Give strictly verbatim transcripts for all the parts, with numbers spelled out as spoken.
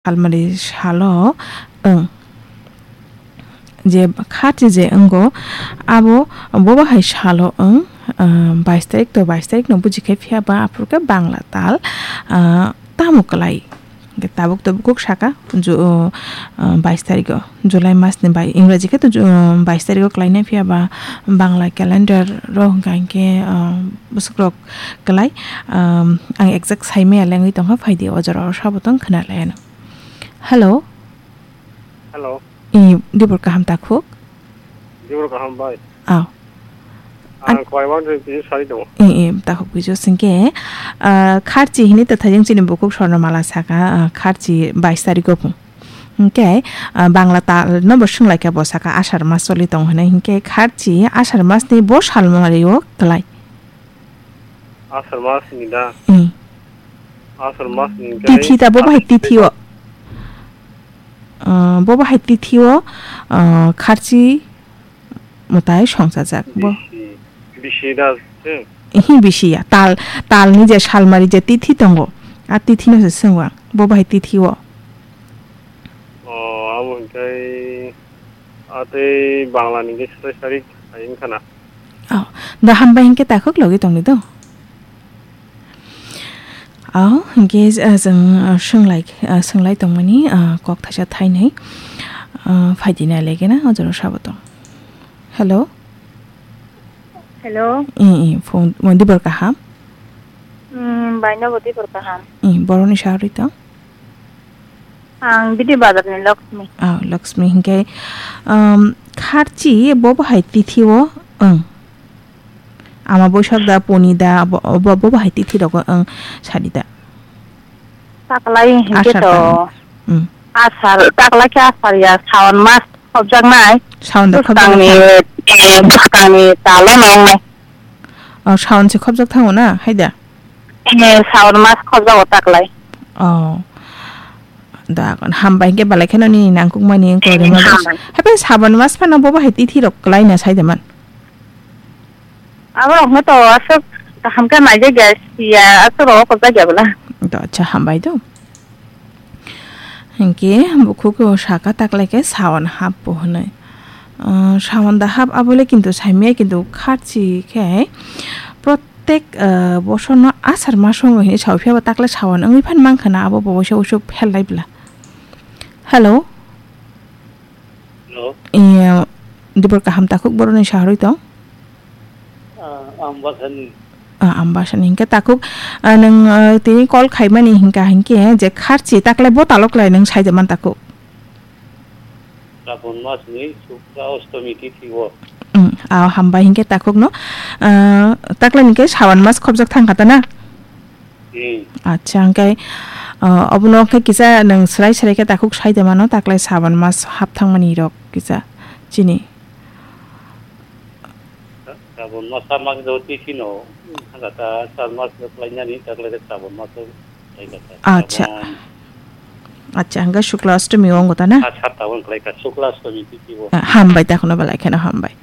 Salmari salo wng. Je kharchi je wngo, abo bobo hai salo wng, ah, bais tarik to bais tarik no buji khe, phiya ba aphuru khe Bangla tal, ah, tamo kwlai. Hwnkhe tabuk to bukhuk saka, ju-, ah, bais tarigo, July mas ni bai, Ingraji khe to ju-, ah, bais tarigo kwlai nai, phiya ba Bangla calendar ro hwnkha hinkhe, ah, bwswk rok kwlai, ah, ang exact sai maya lengwi tongkha, phaidi o jora o sabo tong khna lai ano. Hello. Hello. I, dibor kaham takhuk? Dibor kaham bai. Aw. Ang An- Koiman ri piji sari tongo. I, i, takhuk piji singke, ah, kharchi hini ta thajeng chini bukhuk sorno mala saka, ah, kharchi bais tarigo phung. Hingke, ah, Bangla tal no bo swnglaikha bo saka asar mas choli tong hinui. Hingke kharchi asar mas ni bo salmari o kwlai. Asar mas ni da? Hmm. Asar mas ni hingke Tithi ta bo bahai asar tithi o. Ah, bo bahai tithi o, ah, kharchi mwtai songchajak bo. Bisi, bisi da se? Ihi bisi ya. Tal, tal ni je salmari je tithi tongo. A tithi no se swngo ang. Bo bahai tithi o. O, abo hingke a tei Bangla ni hingke satai sari hai wngkha na. Oh, da hambai hingke takhuk logi tongni do. Oh, hingke, ah, chwng, ah, chwng lai, ah, chwng lai tongmani, ah, kok thaisa thainwi, ah, phaidi nai lege na, o jora sabo tong. Hello? Hello? I, i, phone, mo dibor kaham? Hmm, baino bo dibor kaham. I, boroni sahari tong? Ang Bidi Bazar ni Lakshmi. Ah, Lakshmi hingke, um, kharchi bo bahai tithi o, ang. Ama boisak da, poni da, bo, bo, bo bahai tithi rogo ang sadi da. Taklai hingke Asar to. Tang. Mm. Asar, taklai khe asar ya, sawan mas khobjaknai. Sawan da khobjak Bwskangni, tang. Eh, bwskangni talo nongnai. Oh, sawan se khobjak thango na, hai da? Eh, sawan mas khobjago taklai. Oh. Da, hambai hingke belai kheno nini nangkukmani wngkha, eh, rima bwsa. Hambai. Hape sawan mas phano bo bahai tithi rok kwlai na sai da man. Abo rokno to aswk kaham khe naijak ya, siya, aswk rok o kwchak ya bwla. To, acha, hambai do. Hinkhe bukhuk o saka taklai khe sawan hap bo hwnwi. Ah, sawan da hap abole kintu saimaya kintu kharchi khe protek, ah, bosorno asar maso wngwi hwnwi sawi phiya bo taklai sawan wngwi phan mankha na abo bo waisa waisa phel lai bwla. Hello. Hello. Iya, dibor kaham takhuk boroni saharwi tong? Ah, Ambasani. Ah, Ambasani. Hinkhe takhuk, ah, nwng, ah, tini call khaimani hinkha hinkhe je kharchi taklai bo talo klai nwng saida man takhuk. Srabon masni Shukla Ostami tithi o. Hmm, ah, hambai hinkhe takhukno, ah, taklai hinkhe sawan mas khobjak thangkha ta na? Hmm. Acha, hwnkhe, ah, obono khe kisa nwng swrai swrai khe takhuk sai de mano, taklai sawan mas hap thangmani rok kisa chini. Sa-, sawan mas hap mang do tithi no, hwnkha ta sar mas do khlainani, taklai khe sawan mas do khlai kha ta. Acha. Sawan. Acha, hwnkhe Shukla Ostami o wngkha ta na? Ah, sat tabon khlai kha, Shukla Ostami tithi o. Ah, hambai, takhukno belai kheno hambai.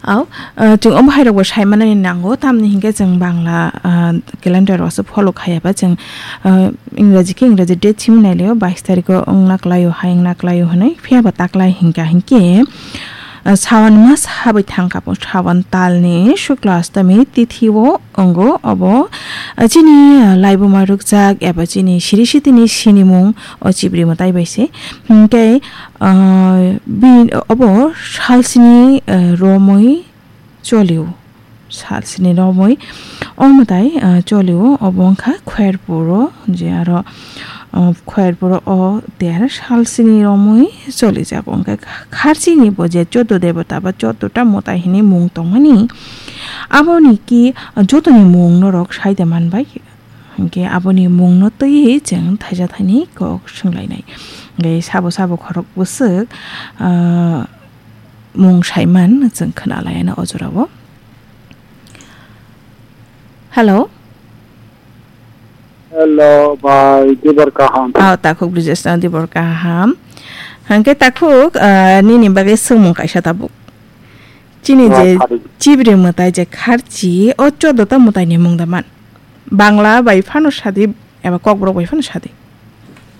Au, ah, chwng omo hai rok bo sai manani nango, tamni hinkhe chwng Bangla, ah, calendar o se follow khaiya ba chwng, ah, Ingraji khe Ingraji date simi nai laio, bais tarikh o wngna klaio, hai wngna klaio hwnwi, phiya ba taklai hinkha hinkhe, ah, sawan mas habwi thangkha bo, sawan talni Shukla Ostami tithi o wngo obo, ah, chini, ah, laibuma rwkjak eba chini siri sitini sinimung o chibri mwtai bai se. Hinkhe, ah, bini obo salsini, ah, romwi cholio. Salsini romwi o mwtai, ah, cholio. Obo wngkha Khwerpuro, je aro, ah, Khwerpuro o ter salsini romwi cholijago. Hinkhe kharchini bo je chuddo debota ba chuddo ta mwtai hinwi mung tongmani, aboni ki jotoni mung norok saida manbai. Hinkhe aboni mungno twiwi chwng thaisa thaini kok swnglainai. Hinkhe sabo sabo khorok bwswk, ah, mung saiman chwng khwnalaiyano o jorao. Hello? Hello, bai, dibor kaham. Ah, takhuk Brijesno dibor kaham. Hinkhe takhuk, ah, nini bagwi swngmung kaisa tabuk. Chini je chibri mwtai je kharchi, o chuddo ta mwtaini mung da man? Bangla bai phano sadi, eba Kokborok bai phano sadi?